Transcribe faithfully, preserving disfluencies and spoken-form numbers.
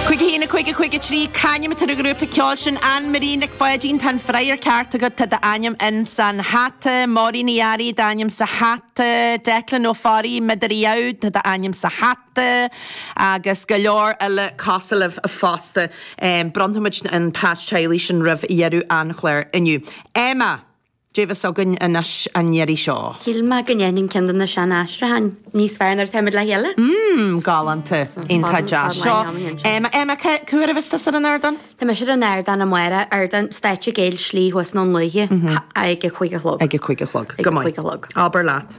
Cúig a haon a cúig a cúig a trí C'ainm atá ar an ghrúpa ceoil sin Anne Marie Nic Pháidín tá an freagra ceart agat tá d'ainm in san hata, Máirín Ní Fhearraigh d'ainm sa hata, Declan Ó Fearraigh Midiriad tá d'ainm sa hata agus go leor eile cosúil libh fosta. Um, Bronnfaimid an pas teaghlaigh sin roimh dheireadh an chláir inniu. Emma, Dé bheas againn anois an iarraidh seo. Shíl mé go ndéanfainn ceann de na sean-aistriúcháin níos fearr nuair atáimid le chéile. Mm, galánta iontach deas seo. Emma Emma cá huair a bheas tusa ar an ardán? Tá mise ar an ardán amárach ardán stáitse Gael Slí thuas nó Luaithe ag a cúig a chlog. Ag a cúig a chlog. Ag a cúig a chlog. Abair leat.